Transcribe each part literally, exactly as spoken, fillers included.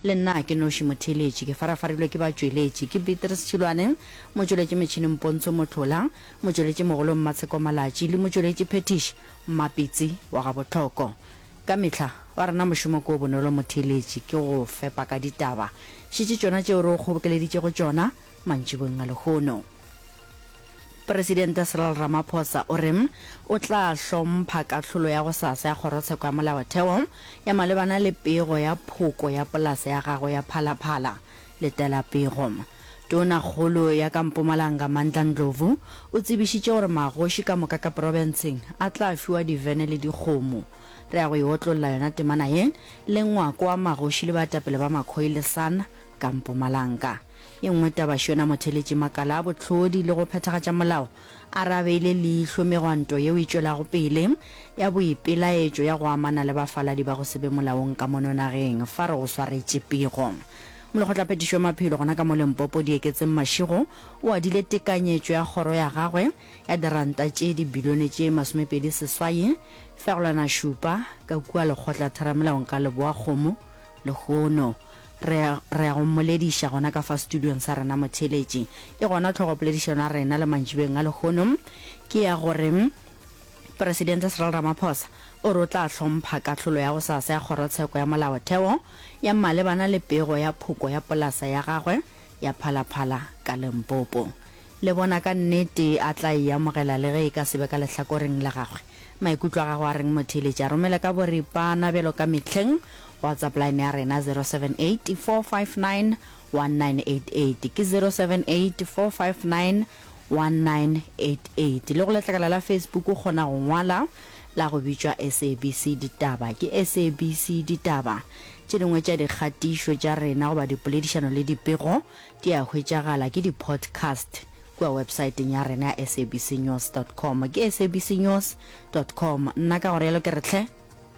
Le nna ke noši motheeletši, ke farafarilwe ke batšweletši, ke Beatrice Tšhilwane, motšweletši metšhineng Pontsho Mohlola, motšweletši mogolo Mmatsheko Malatši le motšweletši phethiši Mmapitsi wa Gabohloko. Ka mehla, wa rena mošomo ke o bonolo motheeletši, ke go fepa ka ditaba. Šetše tšona tšeo re o kgobokeleditšego tšona mantšiboeng a lehono. Presidente Cyril Ramaphosa o re o tla hlompha kahlolo ya gosasa ya Kgorotsheko ya Molaotheo ya malebana le pego ya phoko ya polasa ya gagwe ya Phala-Phala. Letela pego. Tonakgolo ya ka Mpumalanga Mandla Ndlovu o tsebišitše gore magoši ka moka ka profenseng a tla fiwa divene le dikgomo. Re ya go e otlolla yona temana ye le ngwako wa magoši le baetapele ba Makhoi le San ka Mpumalanga. Ye nngwe taba še yona motheeletši makala a bohlodi le go phethagatša molao a re a beile leihlo megwanto yeo e tšwelago pele ya boipelaetšo ya go amana le bafaladi ba go se be molaong ka mono nageng. Fa re go swaretše pego. Molekgotlaphethiši wa maphelo gona ka mo Limpopo Dieketseng Mashego o adile tekanyetšo ya kgoro ya gagwe ya diranta tše dibilione tše masomepedi seswai fegelwana šupa ka kua lekgotlatheramelaong ka Leboa-Kgomo lehono. Re ya, re ya go mmolediša gona ka fa studiong sa rena motheeletši. E gona tlhogopoledišano ya rena le mantšibeng a lehono ke ya gore Presidente Cyril Ramaphosa o re o tla hlompha kahlolo ya gosasa ya Kgorotsheko ya Molaotheo ya malebana le pego ya phoko ya polasa ya gagwe ya Phala-Phala ka Limpopo. Le bona ka nnete a tla e amogela le ge e ka se be ka lehlakoreng la gagwe. Maikutlo a gago a reng motheeletši? A romele ka boripana bjalo ka mehleng WhatsApp line ya rena zero seven eight four five nine one nine eight eight ke zero seven eight four five nine one nine eight eight. Le go letlakala la Facebook o kgona go ngwala la go bitšwa S A B C Ditaba ke S A B C Ditaba. Tše dingwe tša dikgatišo tša rena goba dipoledišano le dipego di a hwetšagala ke di-podcast kua websaeteng ya rena ya S A B C news dot com ke S A B C news dot com. Nna ka go realo ke re hle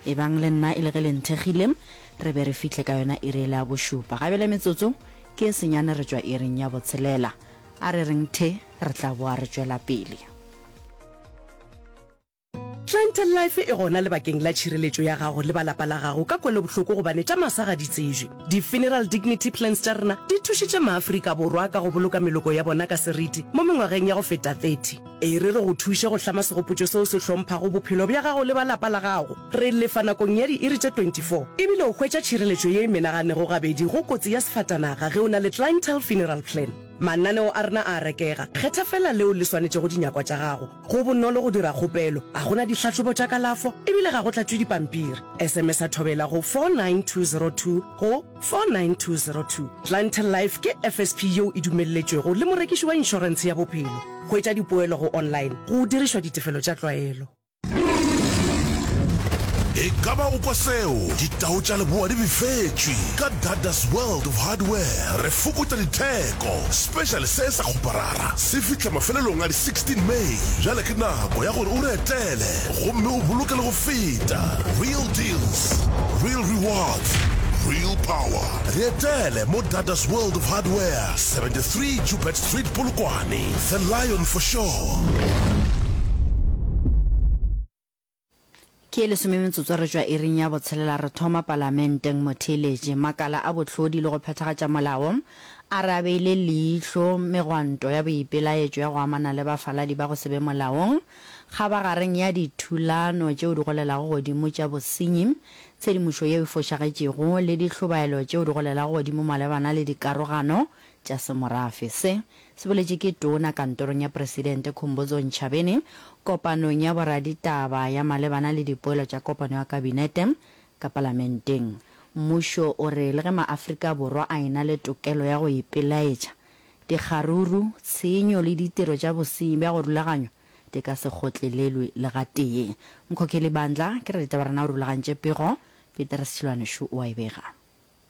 ebang le nna e le ge le nthekgile re be re fihle ka yona iri ele ya bošupa. Ga bjale metsotso ke e senyane re tšwa iring ya botshelela. A re reng the re tla boa re tšwela pele. Clientele Life e gona lebakeng la tšhireletšo ya gago le ba lapa la gago ka kwelobohloko gobane tša masa ga di tsebje. Di-Funeral Dignity Plans tša rena di thušitše maAfrika Borwa ka go boloka meloko ya bona ka seriti mo mengwageng ya go feta thirty. E re re go thuše go hlama segopotšo seo se hlomphago bophelo bja gago le ba lapa la gago. Re lefa nakong ya diiri tše twenty four ebile o hwetša tšhireletšo ye e menaganego gabedi go kotsi ya sefatanaga ge o na le Clientele Funeral Plan. Mananeo a rena a a rekega, kgetha feela leo le swanetšego dinyakwa tša gago. Go bonolo go dira kgopelo, ga go na dihlahlobo tša kalafo ebile ga go tlatšwe dipampiri. S M S a thobela go four nine two zero two go four nine two zero two. Clientele Life ke F S P yeo e dumelletšwego le morekiši wa inšorentshe ya bophelo. Hwetša dipoelo go online go dirišwa ditefelo tša tlwaelo. E ka ba o kwa seo? Ditau tša leboa di befetšwe. Ka Dada's World of Hardware re fokotša ditheko. Special se sa kgoparara se fihla mafelelong a di sixteen May. Bjale ke nako ya gore o re etele gomme o boloke le go feta. Real deals, real rewards, real power. Re etele mo Dada's World of Hardware, seventy-three Joubert Street, Polokwane. The Lion for sure. Ke e lesome metsotso re tšwa iring ya botshelela re thoma palamenteng motheeletši. Makala a bohlodi le go phethagatša molao a re a beile leihlo megwanto ya boipelaetšo ya go amana le bafaladi ba go se be molaong kgabagareng ya dithulano tšeo di golelago godimo tša bosenyi, tshedimošo yeo e fošagetšego le dihlobaelo tšeo di golelago godimo malebana le dikarogano tša semorafe. Se se boletše ke tona kantorong ya Presidente Khumbudzo Ntshavheni kopanong ya boraditaba ya malebana le dipoelo tša kopano ya kabinete ka palamenteng. Mmušo o re le ge maAfrika Borwa a ena le tokelo ya go ipelaetša, dikgaruru, tshenyo le ditiro tša bosenyi bja go rulaganywa di ka se kgotlelelwe le gatee. Mkhokheli Bandla ke raditaba rena o rulagantše pego, Peter Sechilwanešu o a e bega.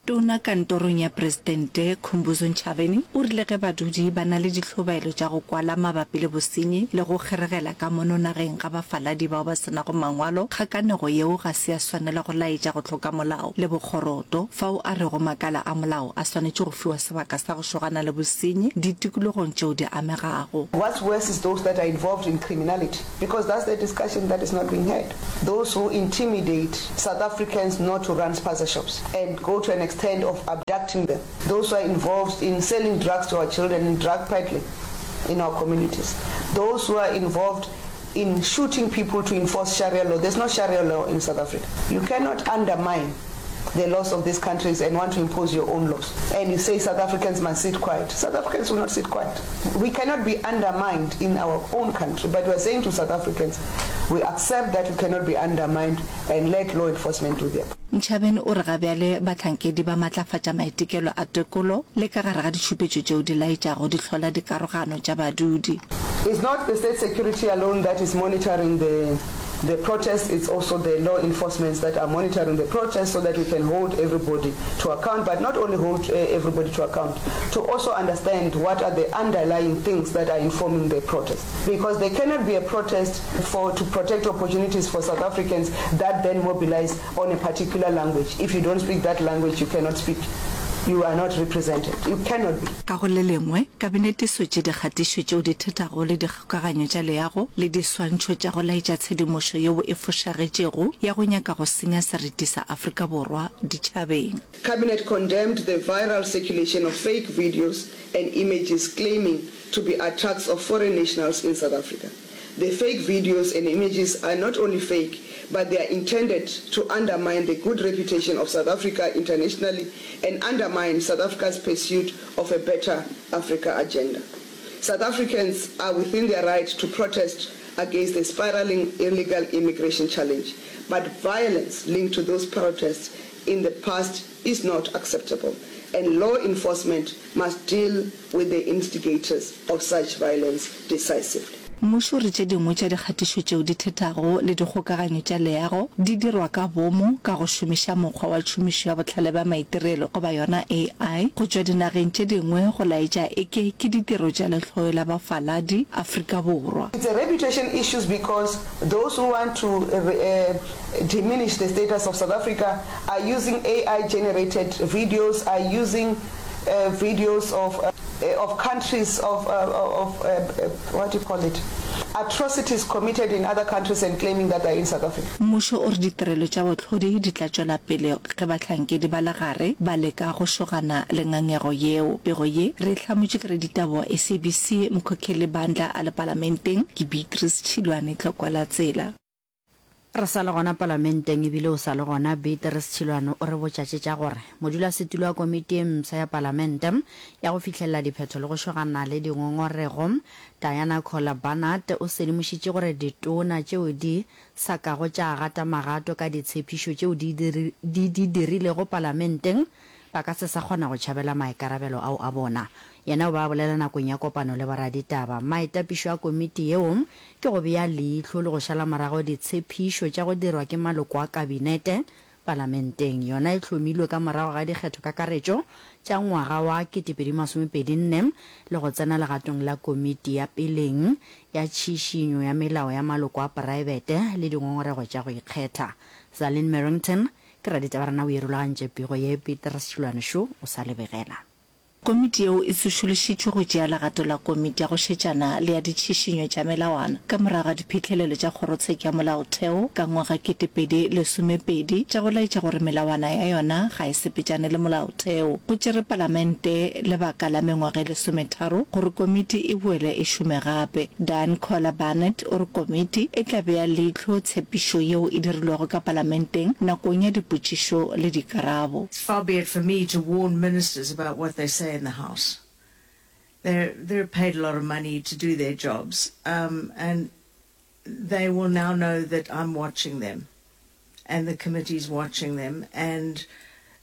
Tona kantorong ya Presidente Khumbudzo Ntshavheni o rile ge badudi ba na le dihlobaelo tša go kwala mabapi le bosenyi le go kgeregela ka mono nageng ga bafaladi bao ba se nago mangwalo, kgakanego yeo ga se ya swanela go laetša go hloka molao le bokgoroto, fao a rego makala a molao a swanetše go fiwa sebaka sa go šogana le bosenyi ditikologong tšeo di amegago. What's worse is those that are involved in criminality, because that's the discussion that is not being heard. Those who intimidate South Africans not to run spaza shops and go to an extent extent of abducting them, those who are involved in selling drugs to our children, in drug peddling in our communities, those who are involved in shooting people to enforce Sharia law. There's no Sharia law in South Africa. You cannot undermine the laws of these countries and want to impose your own laws. And you say South Africans must sit quiet. South Africans will not sit quiet. We cannot be undermined in our own country, but we are saying to South Africans, we accept that we cannot be undermined and let law enforcement do their part. Ntshavheni o re ga bjale bahlankedi ba matlafatša maitekelo a tekolo le ka gare ga ditšhupetšo tšeo di laetšago di hlola dikarogano tša badudi. It's not the state security alone that is monitoring the the protests, it's also the law enforcements that are monitoring the protests so that we can hold everybody to account, but not only hold uh, everybody to account, to also understand what are the underlying things that are informing the protest. Because there cannot be a protest for to protect opportunities for South Africans that then mobilize on a particular language. If you don't speak that language, you cannot speak. You are not represented. You cannot be. Ka go le lengwe, Kabinete e swetše dikgatišo tšeo di thethago le dikgokaganyo tša leago le diswantšho tša go laetša tshedimošo yeo e fošagetšego ya go nyaka go senya seriti sa Afrika Borwa ditšhabeng. Cabinet condemned the viral circulation of fake videos and images claiming to be attacks of foreign nationals in South Africa. The fake videos and images are not only fake, but they are intended to undermine the good reputation of South Africa internationally and undermine South Africa's pursuit of a better Africa agenda. South Africans are within their right to protest against the spiraling illegal immigration challenge, but violence linked to those protests in the past is not acceptable and law enforcement must deal with the instigators of such violence decisively. Mmušo o re tše dingwe tša dikgatišo tšeo di thethago le dikgokaganyo tša leago di dirwa ka boomo ka go šomiša mokgwa wa tšhomišo ya bohlale bja maitirelo goba yona A I go tšwa dinageng tše dingwe go laetša eke ke ditiro tša lehloyo la bafaladi Afrika Borwa. It's a reputation issues because those who want to diminish the status of South Africa are using A I generated videos, are using videos of of countries of of what do you call it atrocities committed in other countries and claiming that they're in South Africa. Mmušo o re ditirelo tša bohlodi di tla tšwela pele ge bahlankedi ba legare ba leka go šogana le ngangego yeo. Pego ye re e hlamotšwe ke raditaba wa S A B C Mkhokheli Bandla a le Palamenteng, ke Beatrice Tšhilwane, Tlokwa la Tsela. Re sa le gona Palamenteng ebile o sa le gona Beatrice Tšhilwane o re botša tše tša gore modulasetulo wa komiti e mpsha ya Palamente ya go fihlelela diphetho le go šogana le dingongorego Diana Kohler Barnard o sedimošitše gore ditona tšeo di sa kago tša gata magato ka ditshepišo tšeo di di dirilego Palamenteng ba ka se sa kgona go tšhabela maikarabelo ao a bona. Yena o be a bolela nakong ya kopano le boraditaba. Maitapišo a komiti yeo ke go bea leihlo le go šala morago ditshepišo tša go dirwa ke maloko a kabinete palamenteng. Yona e hlomilwe ka morago ga dikgethokakaretšo tša ngwaga wa kete pedi masome pedi nne le go tsena legatong la komiti ya peleng ya tšhišinyo ya melao ya maloko a praebete le dingongorego tša go ikgetha. Zalin Merrington Ke raditaba rena o e rulagantše pego ye, Petrus Tšhilwane šo o sa le begela. Komiti yeo e tsošološitšwe go tšea legato la komiti ya go šetšana le ya ditšhišinyo tša melawana ka morago ga diphihlelelo tša Kgorotsheko ya Molaotheo ka ngwaga kete pedi lesome pedi tša go laetša gore melawana ya yona ga e sepetšane le molaotheo. Go tšere Palamente lebaka la mengwaga e lesometharo gore komiti e boele e šome gape. Diane Kohler Barnett o re komiti e tla bea leihlo tshepišo yeo e dirilwego ka Palamenteng nakong ya dipotšišo le dikarabo. Far be it for me to warn ministers about what they say in the House. They're, they're paid a lot of money to do their jobs, um, and they will now know that I'm watching them, and the committee's watching them, and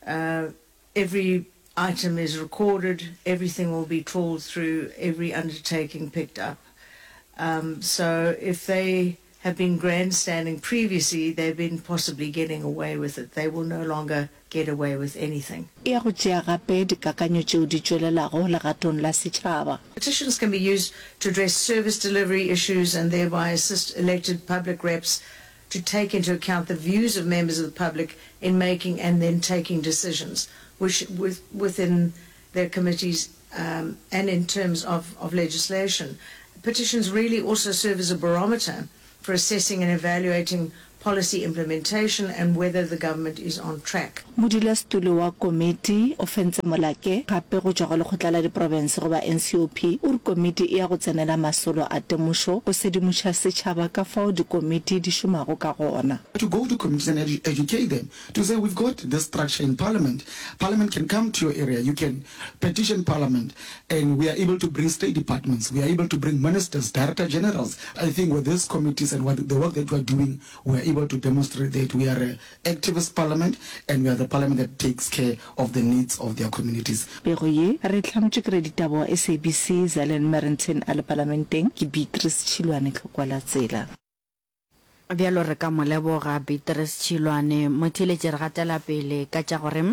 uh, every item is recorded, everything will be trawled through, every undertaking picked up. Um, so if they have been grandstanding previously, they've been possibly getting away with it. They will no longer get away with anything. E ya go tšea gape dikakanyo tšeo di tšwelelago legatong la setšhaba. Petitions can be used to address service delivery issues and thereby assist elected public reps to take into account the views of members of the public in making and then taking decisions which with, within their committees um, and in terms of, of legislation. Petitions really also serve as a barometer for assessing and evaluating policy implementation and whether the government is on track. Modulasetulo wa komiti, Ofentse Molake, gape go tšwa go Lekgotla la Diprofense goba N C O P, o re komiti e ya go tsenela masolo a temošo go sedimoša setšhaba ka fao dikomiti di šomago ka gona. To go to communities and edu educate them to say we've got this structure in parliament, parliament can come to your area, you can petition parliament and we are able to bring state departments, we are able to bring ministers, director generals. I think with these committees and what the work that we are doing, we are able to demonstrate that we are an activist parliament and we are the parliament that takes care of the needs of their communities. Pego ye re e hlametšwe ke raditaba wa S A B C Zelen Merrington a le Palamenteng ke Beatrice Tšhilwane Tlokwa la Tsela. Bjalo re ka mo leboga Beatrice Tšhilwane. Motheeletši re gatela pele ka tša gore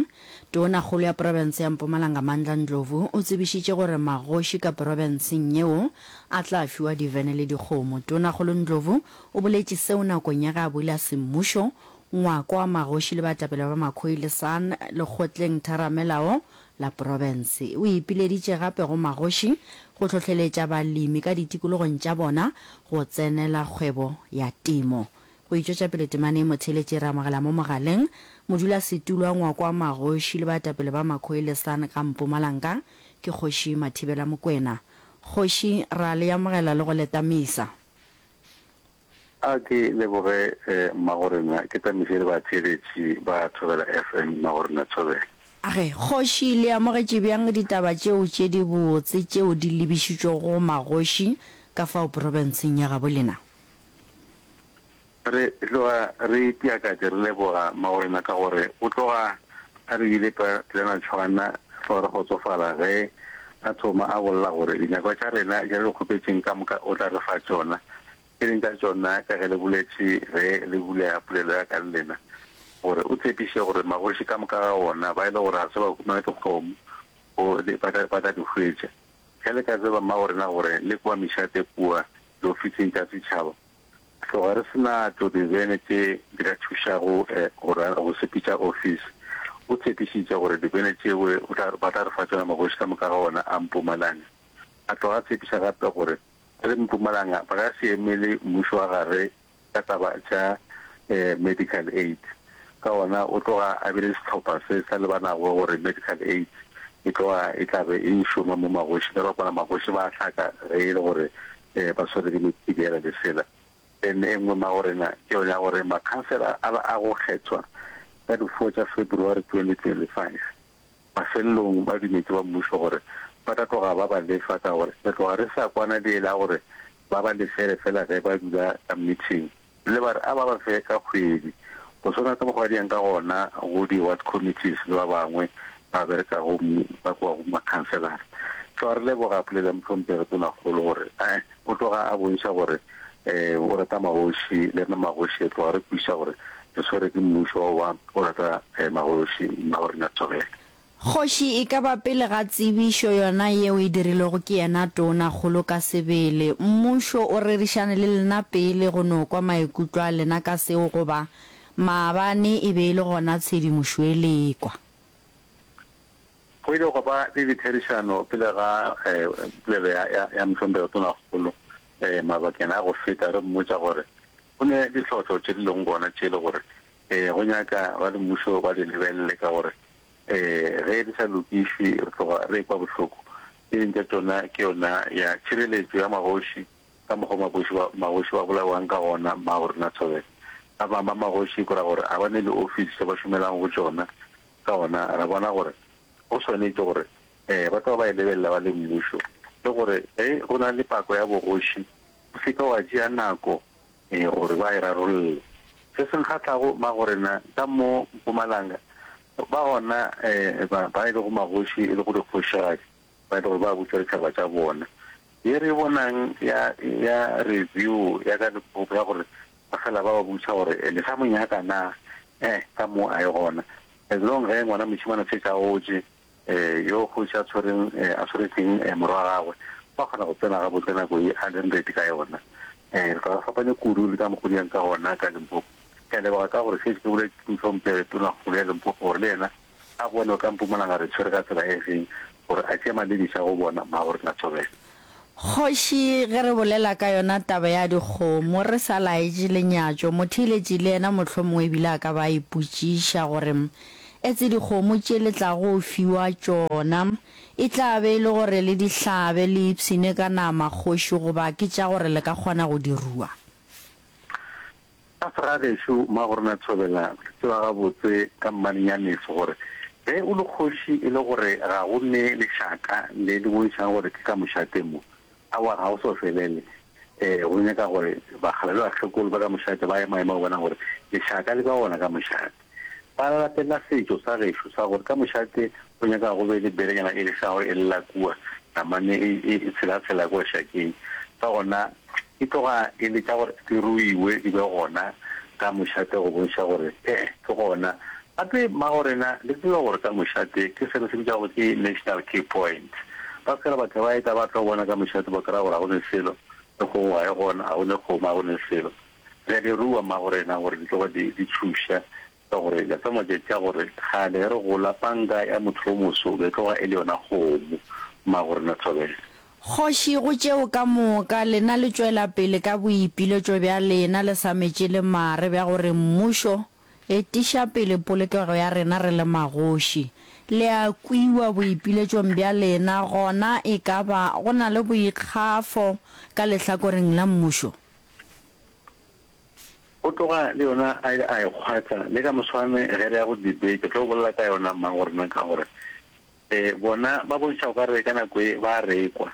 Tonakgolo ya profense ya Mpumalanga Mandla Ndlovu o tsebišitše gore magoši ka profenseng yeo a tla fiwa divene le dikgomo. Tonakgolo Ndlovu o boletše seo nakong ya ge a bula semmušo ngwako wa magoši le baetapele ba Makhoi le San lekgotleng theramelao la profense. O ipileditše gape go magoši go hlohleletša balemi ka ditikologong tša bona go tsenela kgwebo ya temo. Go itšwetša pele temana ye motheeletši re amogela mo mogaleng modulasetulo wa ngwako wa magoši le baetapele ba Makhoi le San ka Mpumalanga ke Kgoši Mathibela Mokwena. Kgoši ra le amogela le go le tamisa. A ke leboge mmagorena, ke tamiše le batheeletši ba Thobela F M mmagorena Thobela. Age, kgoši le amogetše bjang ditaba tšeo tše dibotse tšeo di lebišitšwego go magoši ka fao profenseng ya gabo lena? Re tloga re itiakatše re leboga mmagorena ka gore o tloga a re bile pelana tšhwana, tloga re kgotsofala ge a thoma a bolela gore dinyakwa tša rena tše re di kgopetšeng ka moka o tla re fa tšona. Tše ding tša tšona ka ge le boletše ge le bulega polelo ya ka le lena gore o tshepiše gore magoši ka moka ga ona ba e le gore ga se ba humana dikgomo o ba tla ba tla di hwetša. Ge le ka tseba mmagorena gore le kua mešate kua diofising tša setšhaba tloga re se na tšo divene tše di ka thušago go go sepetša ofisi. O tshepišitše gore divene tšeo o tla ba tla re fa tšona magoši ka moka ga ona a Mpumalanga. A tloga a tshepiša gape gore re le Mpumalanga ba ka se emele mmušo wa gare ka taba tša medical aid. Ka gona o tloga a bile sehlopha se sa lebanago gore medical aid e tloga e tla be e šoma mo magoši ka ba magoši ba hlaka ge e le gore ba swere ke methibela le sela. Then e nngwe magorena ke yona ya gore makhansela a ba a go kgethwa ka di four tša February twenty twenty-five mafelelong ba dumetše ba mmušo gore ba tla tloga ba ba lefa ka gore re tloga re sa kwana le la gore ba ba lefele fela ge ba dula ka meeting le ba re a ba ba fe ka kgwedi go swana ka mokgwa di yang ka gona go di-ward committees le ba bangwe ba berekago ba kwa go makhanselara. Tloga re leboga polelo ya mohlomphegi tonakgolo gore eh o tloga a bontšha gore um o rata magoši le rena magoši tloga re kwešiša gore re swere ke mmušo wa o rata magoši mmagorena Thobela. Kgoši e ka ba pele ga tsebišo yona yeo e dirilwego ke yena Tonakgolo ka sebele. Mmušo o rerišane le lena pele go no kwa maikutlo a lena ka seo goba maabane e be e le gona tshedimošo e lekwa? Go ile gwa ba le ditherišano pele ga polelo ya ya ya mohlomphegi Tonakgolo mabakeng a go feta re mmotša gore go ne ditlhohlo tše di leng gona tše le gore go nyaka ba le mmušo ba di lebelele ka gore ge di sa lokišwe re tloga re ekwa bohloko. Tše ding tša tšona ke yona ya tšhireletšo ya magoši ka mokgwa magoši ba magoši ba bolaiwang ka gona mmagorena Thobela. Ba bangwe ba magoši ke ra gore a ba ne le office tše ba šomelang go tšona ka gona ra bona gore go swanetše gore ba tloga ba e lebelela ba le mmušo le gore ge go na le pako ya bogoši o se ke wa tšea nako gore ba e rarolle. Se se nkgahlago mmagorena ka mo Mpumalanga ba gona ba ba e lego magoši e lego dikgošigadi ba e le gore ba butša ditšhaba tša bona. Ye re bonang ya ya review ya ka Limpopo ya gore ba fela ba ba botša gore le sa mo nyaka na eh ka mo a ye gona. As long ge ngwana mošemane a šetše a gotše yo kgoši a tshwereng a tshweretseng morwa wa gagwe ba kgona go tsena gabotse nako ye a leng ready ka yona. Re tloga re fapane kudu le ka mokgo di yang ka gona ka Limpopo. Ke a leboga ka gore šetše ke boletše mohlomphegi Tonakgolo ya Limpopo gore le yena a bone ka Mpumalanga re tshwere ka tsela e feng gore a tšee malebiša go bona mmagorena Thobela. Kgoši, ge re bolela ka yona taba ya dikgomo, re sa laetše lenyatšo, motheeletši le yena mohlomongwe ebile a ka ba a ipotšiša gore, Etse dikgomo tše le tlago fiwa tšona, e tla be e le gore le di hlabe le ipshine ka nama, kgoši, goba ke tša gore le ka kgona go di rua? Ka segagešo, Mmagorena Thobela, re tseba gabotse ka mmalenyaneso gore ge o le kgoši e le gore ga go ne lešaka le le bontšhang gore ke ka mošate mo, aowa ga o so felele. E, go nyaka gore bakgala le bakgekolo ba ka mošate ba ema-ema go bona gore lešaka le ba gona ka mošate. Ba latela setšo sa gešo sa gore ka mošate go nyaka go be le belenyana e lešago e lla kua, namane e, e, e tshela-tshela kua šakeng. Ka gona e tloga e le tša gore di ruiwe di be gona ka mošate go bontšha gore ee ke gona. Gape mmagorena le tsebe gore ka mošate ke se re se bitšago ke national key point. Ba se ke ra batho ba eta ba tlo bona ka mošate ba kry-a gore ga go ne selo, le kgogo ga e gona, ga go ne kgomo, ga go ne selo. Re a di rua mmagorena gore di tloge di di tšhuša ka gore la tseba matšatši a gore kgale ge re gola panka ya motho yo moso be e tloga e le yona kgomo mmagorena Thobela. Kgoši, go tšeo ka moka, lena le tšwela pele ka boipiletšo bja lena le sa metše le mare bja gore mmušo etiša pele polokego ya rena re le magoši. Le a kwiwa boipiletšong bja lena, gona e ka ba go na le boikgafo ka lehlakoreng la mmušo? Go tloga le yona a ile a e kgwatha, le ka moswane ge re ya go debate re tlo bolela ka yona mmagorena ka gore E, bona ba bontšha o ka re ka nako ye ba a rekwa,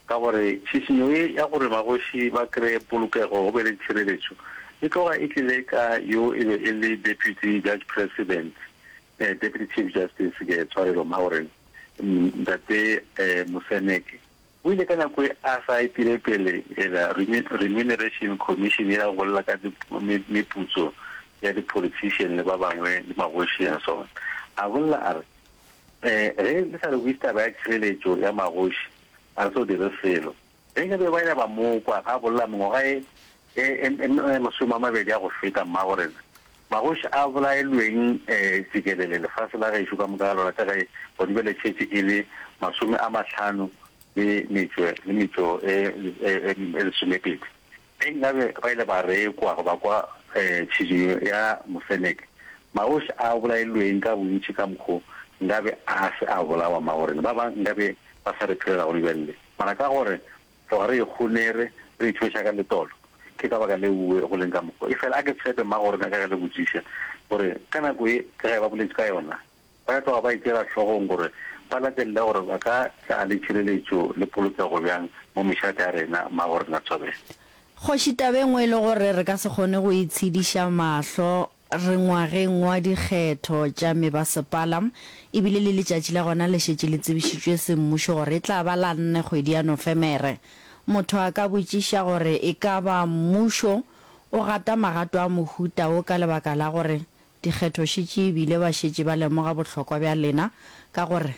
ka gore tšhišinyo ye ya gore magoši ba kreye polokego go be le tšhireletšo e tloga e tlile ka yo e be e le Deputy Judge President, Deputy Chief Justice, ke tshwarelo mma gore Ntate Moseneke o ile ka nako e a sa etile pele ela Remuneration Commission ya go bolela ka meputso ya di-politician le ba bangwe le magoši and so on, a bolela a re Ge le sa lokiše taba ya tšhireletšo ya magoši, ga re so dire selo. Ge nkabe ba ile ba mo kwa a bolela mengwaga e, e, e, e masome a mabedi a go feta, mmago rena, magoši a bolaelweng tšikelele lefase la gešo ka moka ga lona, ka ge gona bjale tšhetše e le masome a mahlano le metšo, le metšo e, e, e, e lesomepedi. Ge nkabe ba ile ba re kwa goba kwa tšhišinyo ya Moseneke, magoši a bolailweng ka bontši ka mokgo nkabe a se a bolawa magorena ba bang nkabe ba sa re phelela gone bjale. Mara ka gore tloga re ikgonere, re ithweša ka letolo, ke ka baka leo go leng ka mokgo. Efela a ke tshepe mmagorena ka ge le botšiša gore ka nako ye ke ge ba boletše ka yona, Ba ka tloga ba itšeela hlogong gore ba latelele gore ba ka tla le tšhireletšo le polokego bjang mo mešate ya rena, Mmagorena Thobela. Kgoši, taba e nngwe e le gore re ka se kgone go itshediša mahlo, re ngwageng wa dikgetho tša mebasepala, e bile le letšatši la gona le šetše le tsebišitšwe semmušo gore e tla ba la nne kgwedi ya Nofemere. Motho a ka botšiša gore e ka ba mmušo o gata magato a mohuta wo ka lebaka la gore Dikgetho šetše e bile ba šetše ba lemoga bohlokwa bja lena ka gore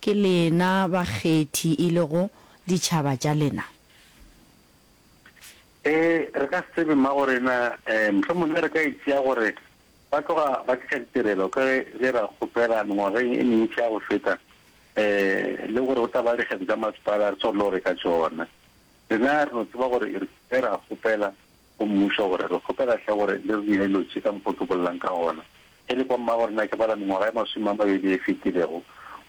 ke lena bakgethi e lego ditšhaba tša lena. Ee, re ka se tsebe mmagorena, mohlomongwe re ka e tšea gore ba tloga ba tliša ditirelo ka ge re ra kgopela mengwageng e mentši ya go feta le gore go tla ba le dikgetho tša masepala re swanelo go reka tšona. Rena re no tseba gore re ile ra kgopela go mmušo gore re kgopela hle gore le re dire dilo tše ka mokgo ke bolelang ka gona. Ge le kwa mmagorena ke bala mengwaga e masome a mabedi e fetilego go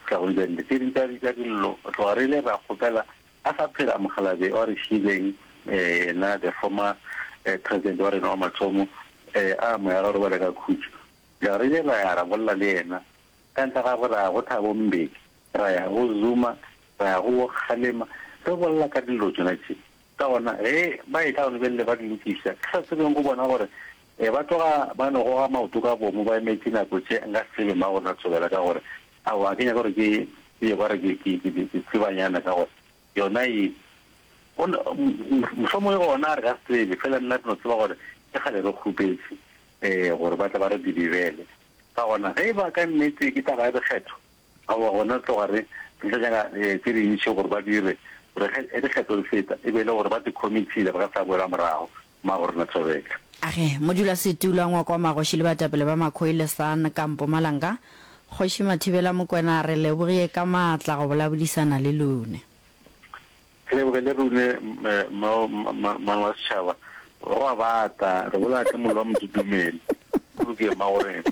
fihla go bjale, tše ding tša tša dillo re tloga re ile ra kgopela a sa phela mokgalabje wa re šiileng yena the former president wa rena wa mathomo a moya ga robale ka khutšo. Bjale re ile ra ya ra bolela le yena ka ntle ga gagwe ra ya go Thabo Mbeki, ra ya go Zuma, ra ya go bo Kgalema re bolela ka dillo tšona tše. Ka gona, ge ba etla gona bjale ba di lokiša, ke sa tsebeng go bona gore ba tloga ba no goga maoto ka boomo ba emetše nako tše, nka se tsebe mang gore na thobela ka gore aowa ga ke nyake gore ke ke ye ba re ke ke ke ke tsebanyana ka gore yona ye go mohlomongwe gona re ka se tsebe fela nna ke no tseba gore ke kgale re kgopetše um gore ba tle ba re dibibele. Ka gona ge e ba ka nnete ke taba ya dikgetho, Aowa, gona re tloga re re tla nyaka tše dintši gore ba dire gore ge dikgetho di feta e be e le gore ba di committile ba ka sa boela morago. Mmagorena Thobeka. Age, Modulasetulo wa Ngwako wa Magoši le Baetapele ba Makhoi le San ka Mpumalanga, Kgoši Mathibela Mokwena a re lebogie ka maatla go bolabodisana le lune. Ke lebogele rune mmane wa setšhaba. Go a bata, re bolaya ka mollo wa motudumele. Go lokile mmagorena.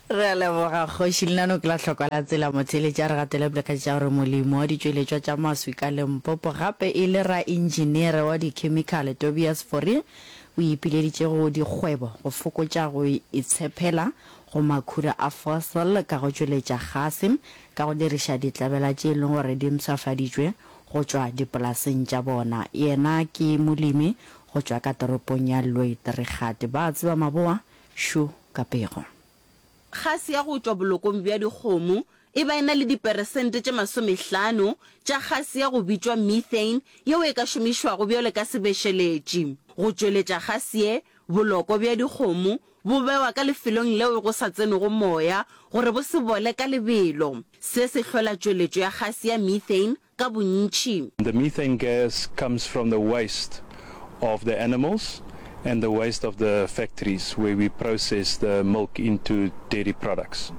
Re a leboga Kgoši Lenano ke la hlokwa la tsela motheeletši a re gatele pele ka tša gore molemi wa ditšweletšwa tša maswi ka Limpopo gape e le raentšineere wa dikhemikhale Tobias Fourie o ipileditše go dikgwebo go fokotša go itshepela go makhura a fossil ka go tšweletša gase ka go diriša ditlabela tše e leng gore di mpshafaditšwe go tšwa dipolaseng tša bona. Yena ke molemi go tšwa ka toropong ya Lweidrigat. Ba tseba maboa šo ka pego. Gase ya go tšwa bolokong bja dikgomo e ba e na le diperesente tše masomehlano tša gase ya go bitšwa methane yeo e ka šomišwago bjalo ka sebešeletši. Go tšweletša gase ye, boloko bja dikgomo bo bewa ka lefelong leo go sa tsenego moya gore bo se bole ka lebelo. Se se hlola tšweletšo ya gase ya methane ka bontši. The methane gas comes from the waste of the animals and the waste of the factories where we process the milk into dairy products.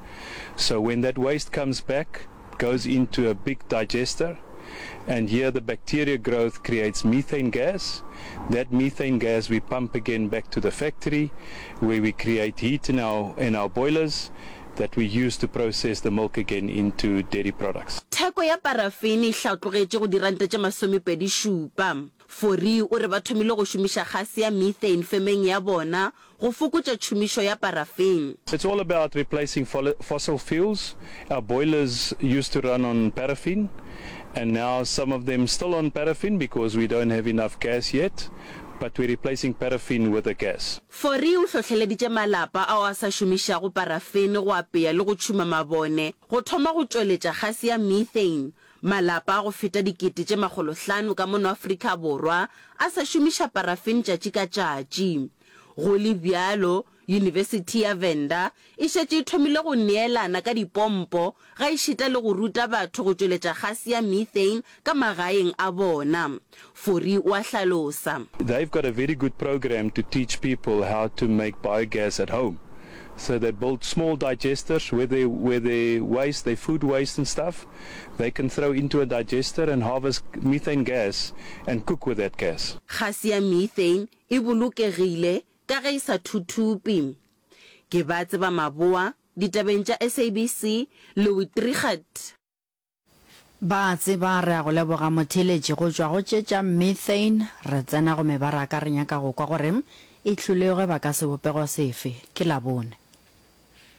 So when that waste comes back, goes into a big digester and here the bacteria growth creates methane gas. That methane gas we pump again back to the factory where we create heat in our in our boilers that we use to process the milk again into dairy products. Theko ya parafene e hlatlogetše go diranta tše masomepedi šupa. Fourie o re ba thomile go šomiša gase ya methane femeng ya bona go fokotša tšhomišo ya parafene. It's all about replacing fossil fuels. Our boilers used to run on paraffin and now some of them still on paraffin because we don't have enough gas yet, but we're replacing paraffin with a gas. Fourie o hlohleleditše malapa ao a sa šomišago parafene go apea le go tšhuma mabone go thoma go tšweletša gase ya methane Malapa a go feta dikete tše makgolohlano ka mono Afrika Borwa a sa šomiša parafene tšatši ka tšatši. Go le bjalo, Yunibesithi ya Venda e šetše e thomile go neelana ka dipompo gaešita le go ruta batho go tšweletša gase ya methane ka magaeng a bona. Fourie o a hlalosa. They've got a very good program to teach people how to make biogas at home. So they build small digesters where they, where they waste, their food waste and stuff, they can throw into a digester and harvest methane gas and cook with that gas. Gase ya methane e bolokegile ka ge e sa thuthupe. Ke ba tseba maboa ditabeng tša SABC, Louis Trichardt. Ba tseba re a go leboga motheeletši go tšwa go tše tša methane re tsena go mebaraka re nyaka go kwa gore e hlolege ba ka sebopego sefe. Ke Labone.